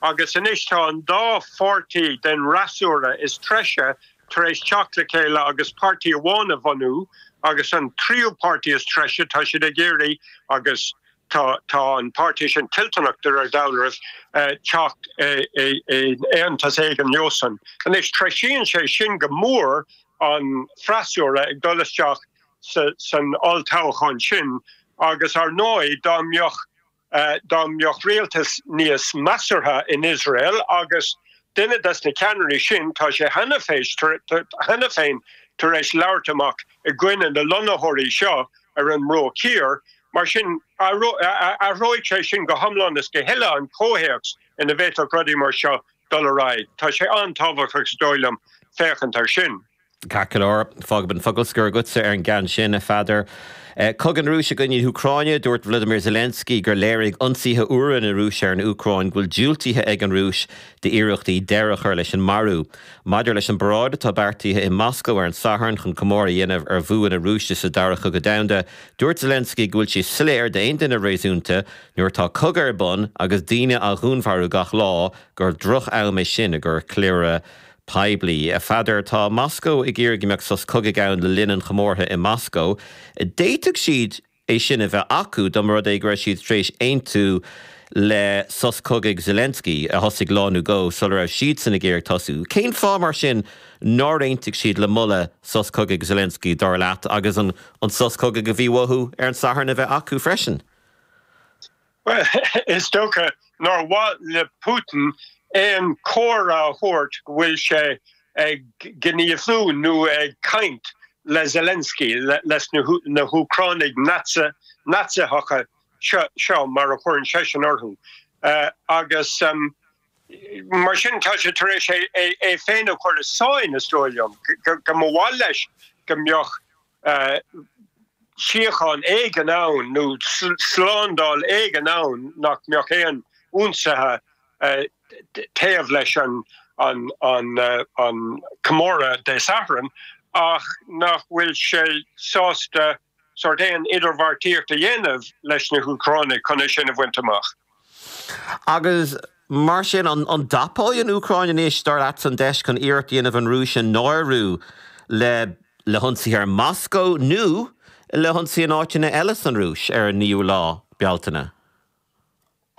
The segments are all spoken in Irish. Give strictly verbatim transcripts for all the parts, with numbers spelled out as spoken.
Agus anois tá an dá pháirtí den fhreasúra is treise tar éis teacht le chéile agus páirtí amháin a bhunú agus an tríú páirtí is treise tá siad ag iarraidh agus tá tá an páirtí sin toilteanach de réir dealraimh eh, teacht aontas éigin leosan. Anois treisíonn sé sin go mór an freasúra ag dul isteach san olltoghchán sin agus ar ndóigh dá mbeadh uh, dá mbeadh rialtas níos measartha in Israel agus duine des na ceannairí sin tá sé cheana féin tar éis labhairt amach i gcoinne na lonnaitheoirí seo ar an mBruach Thiar, mar sin athróidh sé sin go hiomlán is go huile an comhthéacs ina bhféadfadh rudaí mar seo dul ar aghaidh. Tá sé an-tábhachtach is dóigh liom féachaint air sin. Ceart go leor fágfaidh an focal scoir agatsa ar an gceann sin a Pheadair. Eh, Cogadh na Rúise i gcoinne na hÚcráine dúirt Vladimir Zelensky gur léirigh ionsaithe úra na Rúise ar an Úcráin go bhfuil diúltaithe ag an Rúis d'iarrachtaí deireadh a chur leis an marú. Maidir leis an bparáid atá beartaithe i Moscó ar an Satharn chun comóradh a dhéanamh ar bhua na Rúise sa dara cogadh domhanda, dúirt Zelensky go bhfuil sé soiléir d'aon duine réasúnta nuair atá cogadh ar bun agus daoine á ndúnmharú gach lá gur droch-am é sin i gcomhair ceiliúradh poiblí. A Pheadair tá Moscó ag iarraidh go mbeadh sos cogaidh ann le linn an chomórtha i Moscó. D'fhéadfadh siad é sin a bheith acu dá mba rud é go raibh siad tar éis aontú le sos cogaidh Zelensky a thosaigh lá nó dhó sula raibh siad san ag iarraidh tosú. Cén fáth mar sin nár aontaigh siad le moladh sos cogaidh Zelensky dar leat agus an, an sos cogaidh a bhí uathu ar an Satharn a bheith acu freisin? Well, is dócha nár mhaith le Putin aon chomhartha a thabhairt go bhfuil sé ag gníomhú nó ag caint le Zelensky leis na hÚcránaigh Naitsithe seo mar a chuireann seisean orthu. Uh, agus um, mar sin tá sé tar éis é, é féin a chur i sáinn is dóigh liom go mba mhaith leis go mbeadh uh, síocháin éigin ann nó slándáil éigin ann nach mbeadh aon ionsaithe uh, taobh leis an an an uh, an comóradh Dé Sathairn ach nach bhfuil sé sásta sort aon idirbheartaíocht a dhéanamh leis na hÚcránaigh chun sin a bhaint amach. Agus mar sin an, an dtapóidh an Úcráin anois dar leat an deis chun iarracht a dhéanamh an Rúis a náiriú le le hionsaí ar Moscó nó le hionsaí in áiteanna eile san Rúis ar an naoú lá Bealtaine.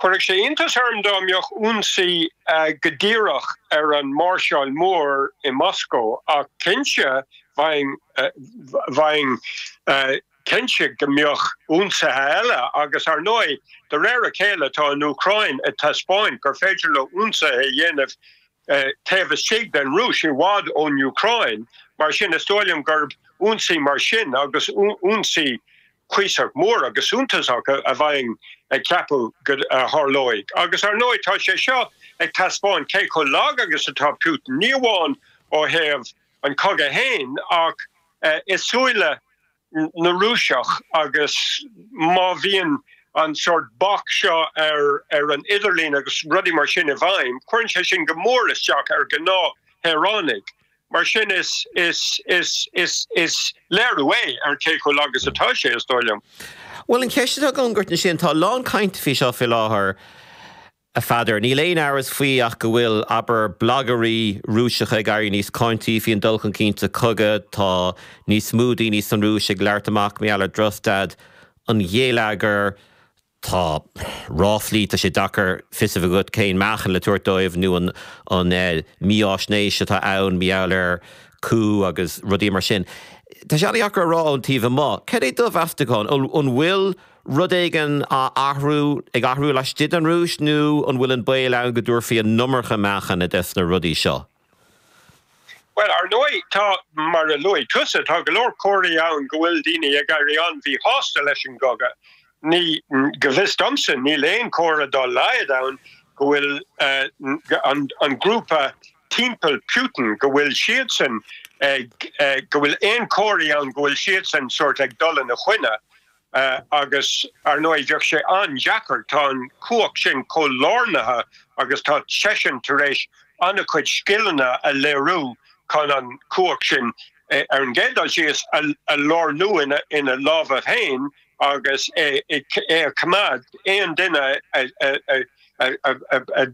Chuirfeadh sé iontas orm dá mbeadh ionsaí uh, go díreach ar an máirseáil mór i Moscó ach cinnte bheinn uh, bheinn uh, cinnte go mbeadh ionsaithe eile agus ar ndóigh de réir a chéile tá an Úcráin ag taispeáint gur féidir leo ionsaithe a dhéanamh uh, taobh istigh den Rúis i bhfad ón Úcráin, mar sin is dóigh liom gurb ionsaí mar sin agus ionsaí cuíosach mór agus suntasach a bheinn ag ceapadh go dtarlóidh. Agus ar ndóigh tá sé seo ag taispeáint cé chomh lag agus atá Putin ní amháin ó thaobh an cogadh féin ach uh, i súile na Rúiseach agus má bhíonn an sort bac seo ar ar an idirlíon agus rudaí mar sin i bhfeidhm, cuireann sé sin go mór isteach ar ghnáthshaoránaigh. Mar sin is is is is is léiriú é ar cé chomh lag agus atá sé is dóigh liom. Well an cheist go gurt sin tá lán cainte faoi seo faoi láthair a Pheadair. Níl aon amhras faoi ach go bhfuil abair blagairí Rúiseacha ag éirí níos cáintí faoin dul chun cinn sa chogadh tá níos mó daoine san Rúis ag labhairt amach mar gheall ar dhrochstaid an gheilleagair tá ráflaí tá sé deacair fios a bheith agat cén meáchan le tabhairt dóibh nó an an eh, mífhaisnéis atá ann mar gheall ar coup agus rudaí mar sin. Tá sé deacair a rá ón taobh amuigh. Cad é do mheastachán an bhfuil rud éigin á athrú ag athrú laistigh den Rúis nó an bhfuil an baol ann go dtabharfaí an iomarca meáchan des na rudaí seo. Well ar ndóigh tá mar a luaigh tusa tá go leor comharthaí ann go bhfuil daoine ag éirí an-mhíshásta leis an gcogadh. Ní go bhfios domsa níl aon chomhartha dá laghad ann go bhfuil uh, an, an grúpa timpeall Putin go bhfuil siadsan ag uh, go bhfuil aon chomharthaí ann go bhfuil siadsan sort ag dul ina choinne. Uh, agus ar ndóigh bheadh sé an-deacair tá an chumhacht sin chomh lárnaithe agus tá seisean tar éis an-chuid scileanna a léiriú chun an chumhacht sin ar an gcéad dul síos a lárnú ina ina lámha féin agus é é a choimeád aon duine a